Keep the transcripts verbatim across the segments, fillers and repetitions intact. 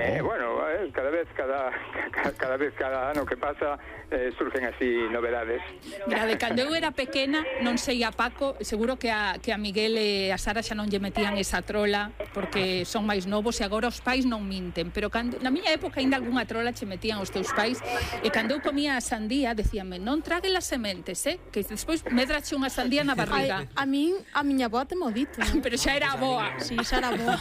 Eh, bueno, eh, cada vez cada, cada vez cada ano que pasa eh, surgen así novedades. Mira, de cando eu era pequena, non sei a Paco, seguro que a, que a Miguel e a Sara xa non lle metían esa trola porque son máis novos e agora os pais non minten, pero cando, na miña época ainda algunha trola che metían os teus pais e cando eu comía a sandía decíanme non traguen as sementes, eh? Que despois medrache unha sandía na barriga. Ai, a min, a miña avó te modito, ¿no? Pero xa era a boa. Sí, xa era boa.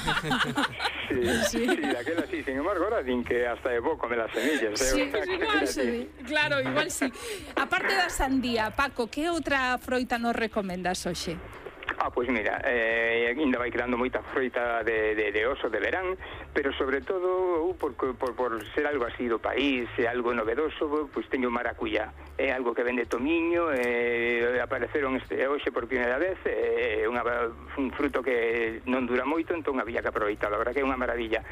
Sí, sí, sí, daquela sí, sin embargo, ahora din que hasta é bo comer as semillas. Sí, eh? pues igual sí, claro, igual sí. Aparte da sandía, Paco, que outra froita nos recomendas hoxe? Ah, pois mira, eh, ainda vai quedando moita froita de, de, de oso de verán, pero sobre todo por, por, por ser algo así do país, é algo novedoso, pois teño maracuyá. É algo que vende tomiño, eh, apareceron este, hoxe por primeira vez, é eh, unha, un fruto que non dura moito, entón había que aproveitar, a verdad que é unha maravilla.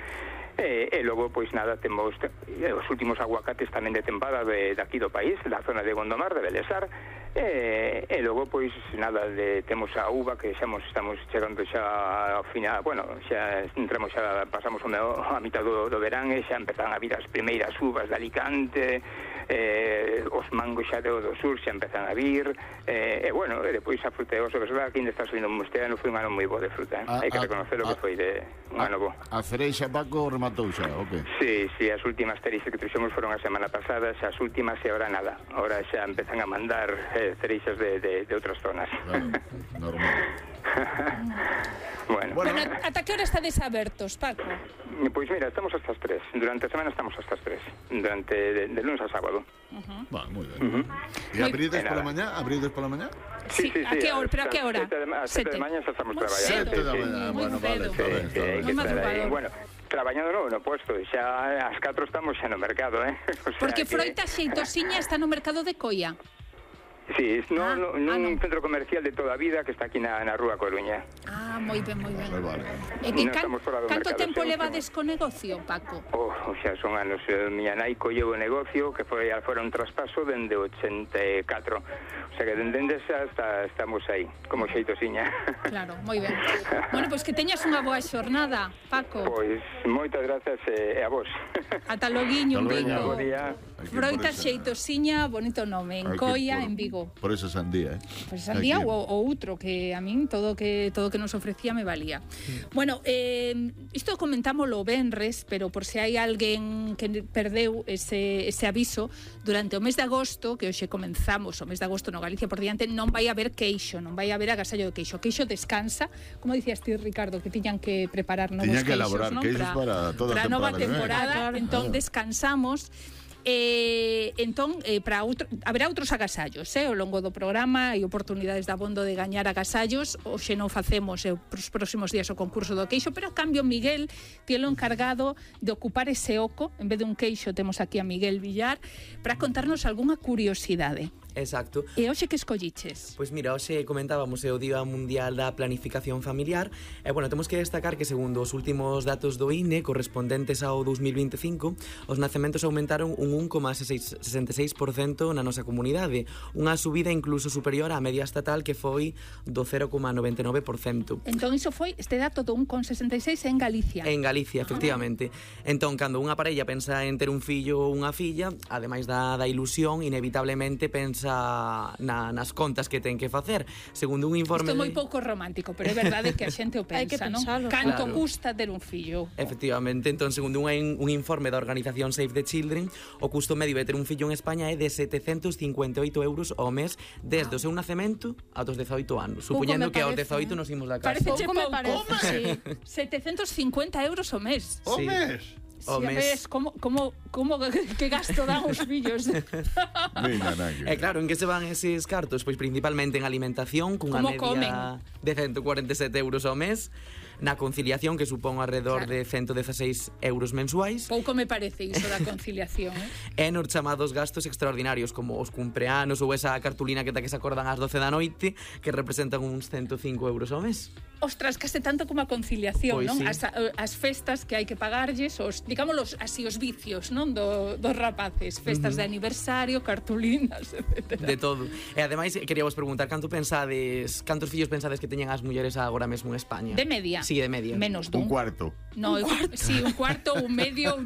E, e logo, pois nada, temos eh, os últimos aguacates tamén de tempada de, de aquí do país, da zona de Gondomar, de Belesar, e, e logo, pois nada, de, temos a uva que xa mos, estamos chegando xa ao final, bueno, xa entramos xa, pasamos o meu, a mitad do, do verán e xa empezan a vir as primeiras uvas de Alicante, eh, os mangos xa do, do sur xa empezan a vir, eh, e bueno, e depois a fruta de oso, que aquí ainda está subindo este ano, foi un ano moi bo de fruta, eh? hai que reconocer o que foi de un ano bo. A cereixa, Paco, rematou xa, o que? Sí, sí, as últimas cereixas que trouxemos foron a semana pasada, xa as últimas e agora nada, agora xa empezan a mandar eh, cereixas de, de, de outras zonas. Claro, normal. Bueno, bueno, ata que hora estades abertos, Paco? Pois mira, estamos hasta as tres. Durante a semana estamos hasta as tres. Durante de, de lunes a sábado. Uh-huh. Vale, moi ben. Uh-huh. E abrides pola mañá? Abrides pola mañá? Sí, sí, sí. A que hora? Pero a que hora? A sete de mañá xa estamos traballando. Sete da mañá, bueno, vale, está ben, está ben. Bueno, traballando no, no puesto, xa ás catro estamos xa no mercado, eh? O sea, porque que... froita xeitosiña está no mercado de Coia. Sí, no, ah, no, ah, nun no. centro comercial de toda a vida que está aquí na, na Rúa Coruña. Ah, moi ben, moi ben. Vale, vale. E que No can, canto mercado, tempo sí, levades co negocio, Paco? Oh, o sea, son anos. Eh, miña nai colleu o negocio que foi fora un traspaso dende ochenta e catro. O sea que dende xa está, estamos aí, como xeitosiña. Claro, moi ben. Bueno, pois pues que teñas unha boa xornada, Paco. Pois moitas grazas e eh, a vos. Ata loguiño, en Vigo. Bo día. Froita xeitosiña, bonito nome, en Coia, en Vigo. Por esa sandía, eh? Pois pues sandía ou outro, que a min todo que todo que nos ofrecía me valía. Mm. Bueno, eh, isto comentámoslo venres, pero por se hai alguén que perdeu ese, ese aviso, durante o mes de agosto, que hoxe comenzamos o mes de agosto no Galicia por diante, non vai haber queixo, non vai haber agasallo de queixo. O queixo descansa, como dicías ti, Ricardo, que tiñan que preparar novos tiñan que queixos, elaborar ¿no? queixos para, para toda a nova temporada, eh? entón claro. descansamos. Eh, entón, eh, para outro, haberá outros agasallos, eh, ao longo do programa, hai oportunidades de abondo de gañar agasallos. Hoxe non facemos eh, os próximos días o concurso do queixo, pero a cambio Miguel tielo encargado de ocupar ese oco. En vez de un queixo temos aquí a Miguel Villar para contarnos algunha curiosidade. Exacto. E hoxe que escolliches? Pois mira, hoxe comentábamos é o Día Mundial da Planificación Familiar e, bueno, temos que destacar que segundo os últimos datos do I N E correspondentes ao dos mil veinticinco, os nacementos aumentaron un un coma sesenta e seis por cento na nosa comunidade, unha subida incluso superior á media estatal que foi do cero coma noventa e nove por cento. Entón iso foi este dato do un coma sesenta e seis en Galicia. En Galicia, efectivamente. Ah. Entón, cando unha parella pensa en ter un fillo ou unha filla, ademais da, da ilusión, inevitablemente pensa Na, nas contas que ten que facer. Segundo un informe... Isto é moi pouco romántico, pero é verdade que a xente o pensa, hai que non? pensalo, Canto claro. custa ter un fillo? Efectivamente, entón, segundo un, un informe da organización Save the Children, o custo medio de ter un fillo en España é de setecentos cincuenta e oito euros ao mes desde ah. o seu nacemento aos dezaoito anos, supoñendo que aos dezaoito nos imos da casa. Parece pouco me parece, sí. setecentos cincuenta euros ao mes. O Sí. mes? Si a ves como, como, como que gasto dan os fillos. Mira, E claro, en que se van eses cartos? Pois principalmente en alimentación, cunha Como media comen? de ciento cuarenta e sete euros ao mes, na conciliación, que supón alrededor Claro. de ciento dezaseis euros mensuais, Pouco me parece iso da conciliación, eh? e nos chamados gastos extraordinarios, como os cumpleanos ou esa cartulina que ta que se acordan ás doce da noite, que representan uns ciento cinco euros ao mes. Ostras, case tanto como a conciliación, Pois non? sí. As, as festas que hai que pagarlles, os, digámoslos así, os vicios, non? Do, dos rapaces, festas uh-huh. de aniversario, cartulinas, etcétera. De todo. E ademais, queríamos preguntar, canto pensades, cantos fillos pensades que teñen as mulleres agora mesmo en España? De media. Sí, de media. Menos dun. Un cuarto. No, un cuarto. Sí, un cuarto, un medio,